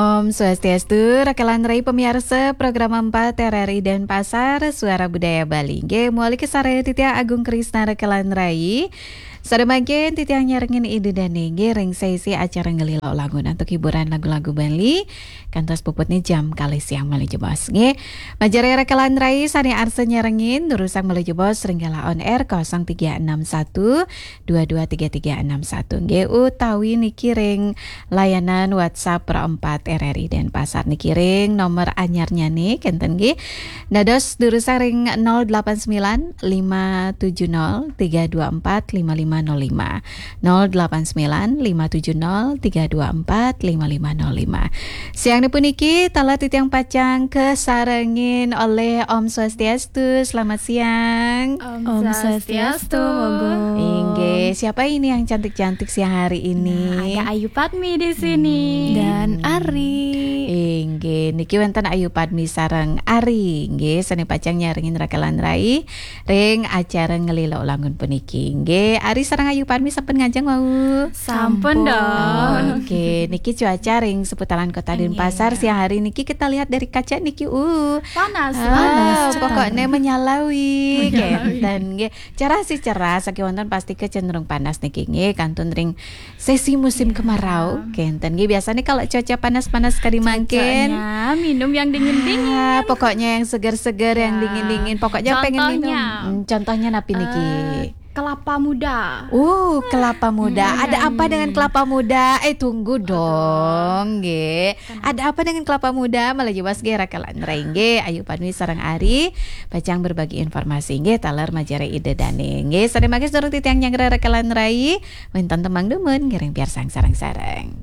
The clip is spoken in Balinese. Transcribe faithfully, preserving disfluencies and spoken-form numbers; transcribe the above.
Om Swastiastu, rekan rai pamiarsa program empat R R I Denpasar, Suara Budaya Bali. Nggih, malih sareng titiang Agung Krisna rekan rai. Sareng mangkin titiang nyarengin Ida Dane nggih ring sesi acara ngelila langun antuk hiburan lagu-lagu Bali. Kantos puputne jam kalih siang malih jebos nggih. Majeng rekan rai sane arsa nyarengin durusang malih jebos ring galah on air kosong tiga enam satu dua dua tiga tiga enam satu nggih utawi niki ring layanan WhatsApp Pro empat R R I Denpasar niki ring nomor anyarnyane kenten nggih. Dados durusang ring nol delapan sembilan lima tujuh nol tiga dua empat lima lima nol lima. Nol delapan sembilan lima tujuh nol tiga dua empat lima lima nol lima. Siang puniki taler titiang pacang kasarengin olih Om Swastiastu. Selamat siang. Om Swastiastu, Mogo. Inggih, siapa ini yang cantik-cantik siang hari ini? Nah, ada Ayu Padmi di sini. Dan Ari. Inggih, niki wenten Ayu Padmi sareng Ari. Inggih, sane pacang nyarengin rekan rai ring acara ngelila langun puniki. Inggih, Ari sareng Ayu Padmi sampun ngajeng wau. Sampun dong. Oke, niki cuaca ring seputaran Kota Denpasar siang hari niki kita lihat dari kaca niki uh Panas. Ah, Panas, pokoknya menyalawi kenten nggih. Cerah sih cerah, saking wonten pasti kecenderung panas niki nggih kantun ring sesi musim kemarau kenten nggih. Biasanya kalau cuaca panas-panas kadi mangkin Cocoknya minum yang dingin-dingin. Ah, pokoknya yang seger-seger, yang Ya. dingin-dingin. Pokoknya pengen minum. Contohnya? Hmm, contohnya napi niki? Eh, kelapa muda. Uh, kelapa muda. Ada apa dengan kelapa muda? Eh, tunggu dong, nggih. Ada apa dengan kelapa muda? Malih jebos nggih rekan rai nggih. Ayu Padmi sareng Ari pacang berbagi informasi nggih taler majeng ring Ida Dane. Nggih, sane mangkin durung titiang nyanggra rekan rai, wenten tembang dumun ngiring piarsang sareng-sareng.